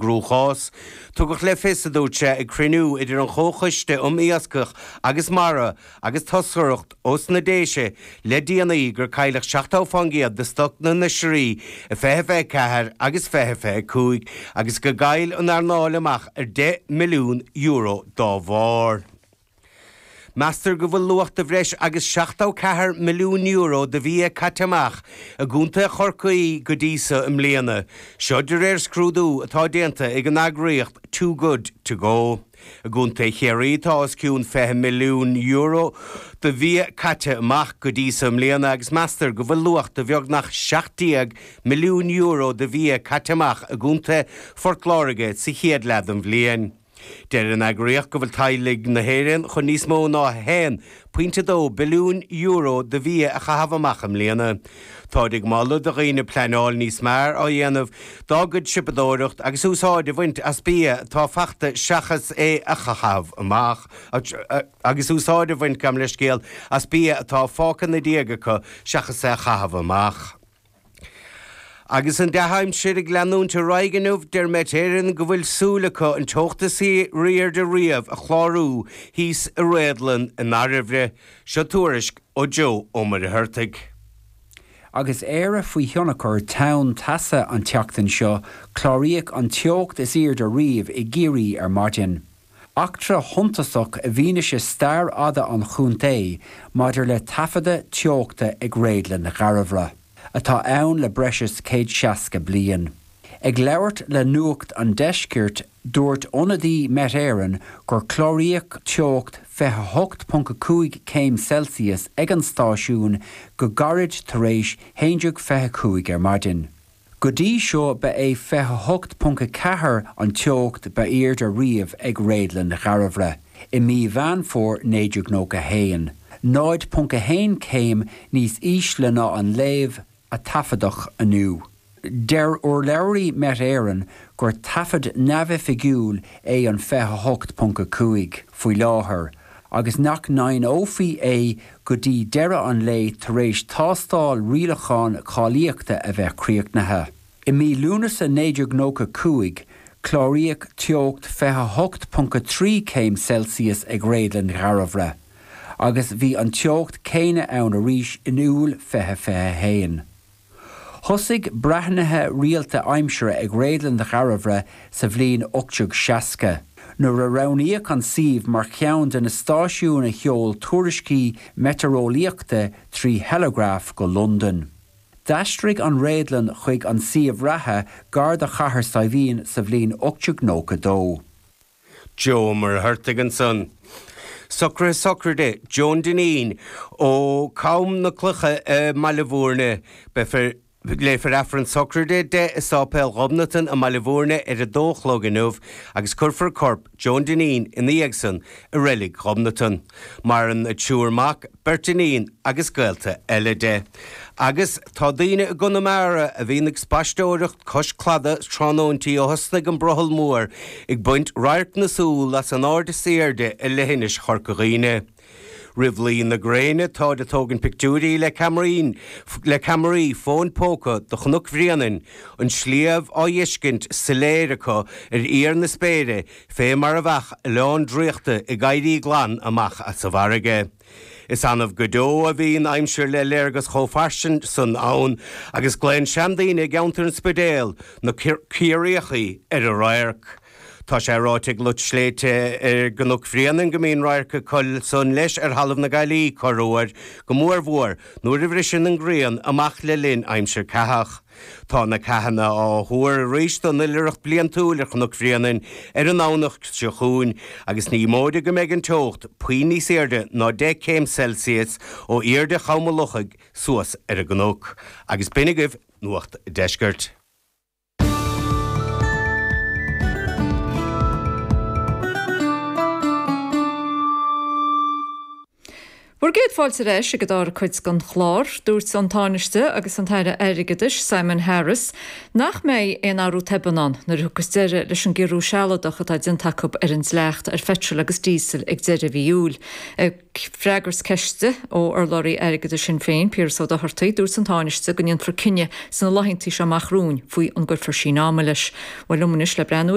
gcruachás. Tugadh le fios, a dúirt sé, ag cruinniú idir an Chomhchoiste um Iascach agus Mara agus toscaireacht ós na Déise le déanaí gur cailleadh 70% de stoc na n-oisrí i 2024 agus 2025 agus go gcaill an earnáil amach ar €10 milliún dá bharr. Meastar go bhfuil luach de bhreis agus €74 milliún de bhia caite amach i gContae Chorcaí go dtí so i mbliana, seo de réir scrúdú atá déanta ag an eagraíocht Too Good To Go. I gContae Chiarraí tá os cionn €20 milliún de bhia caite amach go dtí so i mbliana agus meastar go bhfuil luach de bheagnach €17 milliún de bhia caite amach i gContae Phort Láirge sa chéad leath den bhliain. Deir an eagraíocht go bhfuil teaghlaigh na hÉireann chun níos mó ná €1.2 billiún de bhia a chaitheamh amach i mbliana. Táid ag moladh do dhaoine pleanáil níos mearr á dhéanamh dá gcuid siopadóireacht agus úsáid a bhaint as bia atá fachta seachas é a chaitheamh amach agus úsáid a bhaint, gabh mo leithscéal, as bia atá fágtha ina diaidh acu seachas é a chaitheamh amach. Agus an dea-aimsir ag leanúint ar aghaidh inniu, deir Met Éireann go bhfuil súil acu an teocht is airde riamh a chlárú thíos i réadlann i nDairbhre. Seo tuairisc ó Joe Ó Muircheartaigh. Agus Éire faoi thionchar tonn teasa an tseachtain seo, cláraíodh an teocht is airde riamh i gCiarraí ar maidin. Eachtra shuntasach i bhfianaise stair fhada an chontae maidir le taifeadadh teochta ag Réadlann Dhairbhre, atá ann le breis is 160 bliain. Ag labhairt le Nuacht an Deiscirt, dúirt ionadaí Met Éireann gur cláraíodh teocht 28.5 céim Celsius ag an stáisiún go gairid tar éis 11:25 ar maidin. Go dtí seo ba é 28.4 an teocht ba airde riamh ag Réadlann Dhairbhre, i mí Mheán Fómhair 1991, 0.1 céim níos ísle ná an léamh a taifeadadh inniu. Deir urlabhraí Met Éireann gur taifead neamhoifigiúil é an 28.5 faoi láthair agus nach ndeimhneofaí é go dtí deireadh an lae tar éis tástáil rialachán cáilíochta a bheith críochnaithe. I mí Lúnasa 1995, cláraíodh teocht 28.3 céim Celsius ag Réadlann Dhairbhre, agus bhí an teocht céanna ann arís in Iúil 2021. Thosaigh breathnuithe rialta aimsire ag Réadlann Dhairbhre sa bhliain 1860, nuair a roghnaíodh an suíomh mar cheann de na stáisiúin a sheol tuairiscí meitéareolaíochta trí theileagraf go Londain. D'aistrigh an réadlann chuig an suíomh reatha gar do Chathair Saidhbhín sa bhliain 1892. Joe Ó Muircheartaigh ansan. Socruithe sochraide Joan Dineen ó Chom na Cloiche i mBaile Bhúirne. Beifear Léifear Aifreann sochraide di i Sáipéal Ghobnatan i mBaile Bhúirne ar a dó a chlog inniu agus cuirfear corp Joan Dineen ina dhiaidh san i Reilig Ghobnatan. Maireann a triúr mac, beirt iníon agus gaolta eile di. Agus tá daoine i gConamara a bhíonn ag spaisteoireacht cois cladaigh tráthnóintí ó thosnaigh an brothall mór ag baint radharc na súl as an ard is airde i leithinis Chorca Dhuibhne. Roimh luí na gréine táid ag tógaint pictiúirí le ceamaraí le ceamaraí fóin póca de Chnoc Bhréanainn, an sliabh á fheiscint soiléir acu ar íor na spéire fé mar a bheadh oileán draíochta ag éirí glan amach as an bhfarraige. Is annamh go deo a bhíonn aimsir le léargas chomh fairsing san ann agus glaonn seandaoine i gceantar an Spidéil na Ciarraíochaí ar an radharc. Tá sé ráite ag lucht sléibhte ar gCnoc Bhréanainn go mbíonn radharc acu san leis ar Thalamh na Gaillí corruair, go mórmhór nuair a bhriseann an ghrian amach le linn aimsir ceathach. Tá na ceathanna á thuar arís don oilithreacht bliantúil ar Chnoc Bhréanainn ar an nDomhnach seo chugainn agus ní móide go mbeidh an teocht puinn níos airde ná 10 céim Celsius ó airde Chom an Lochaigh suas ar an gcnoc. Agus b'in agaibh Nuacht an Deiscirt. Bhur gcéad fáilte ar ais ag an dara cuid den chlár. Dúirt an Tánaiste agus an tAire Airgeadais, Simon Harris, nach mbeidh aon athrú tobann ann nuair a thiocfas deireadh leis an gciorrú sealadach atá déanta acu ar an dleacht ar pheitreal agus díosal ag deireadh mhí Iúil. Ag freagairt ceiste ó urlabhraí airgeadais Shinn Féin, Piaras Ó Dochartaigh, dúirt an Tánaiste go ndéanfar cinneadh sna laethanta seo amach romhainn faoi an gcuirfear síneadh ama leis. Bhuel liom anois le breathnú.